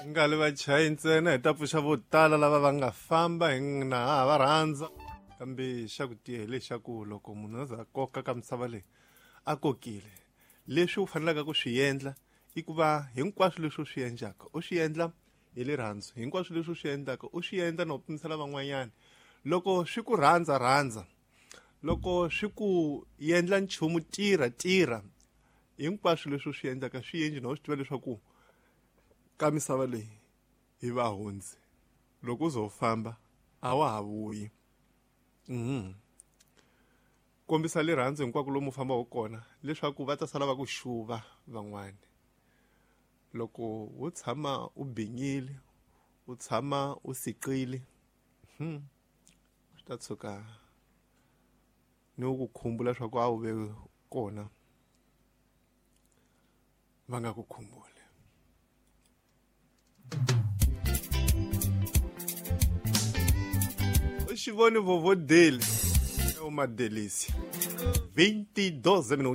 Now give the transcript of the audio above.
Nga li vachayi ntsena hi ta pfuxa vo tala lava va nga famba hi na ha va rhandza kambe xa ku tiya hi lexaku loko munhu a za a koka ka misava leyi a kokile leswi u fanelaka ku swi endla i ku va hinkwaswo leswi u swi endlaka u swi endla hi rirhandzu hinkwaswo leswi u swi endlaka u swi endla na u pimisela van'wanyana loko swi ku rhandza rhandza loko swi ku endla nchumu tirha tirha hinkwaswo leswi u swi endlaka swi endli na u swi tiva leswaku ka misava leyi hi vahundzi loko u zo famba a wa ha vuyi kombisa rirhandzu hinkwako lomu u fambaka kona leswaku va ta sala va ku xuva van'wani loko wo tshama u binyile u tshama u siqile swi ta tshuka ni ku khumbula swa ku a wu ve kona va nga ku khumbuli. U xi voni vovodeli u madelisi 22 minutos.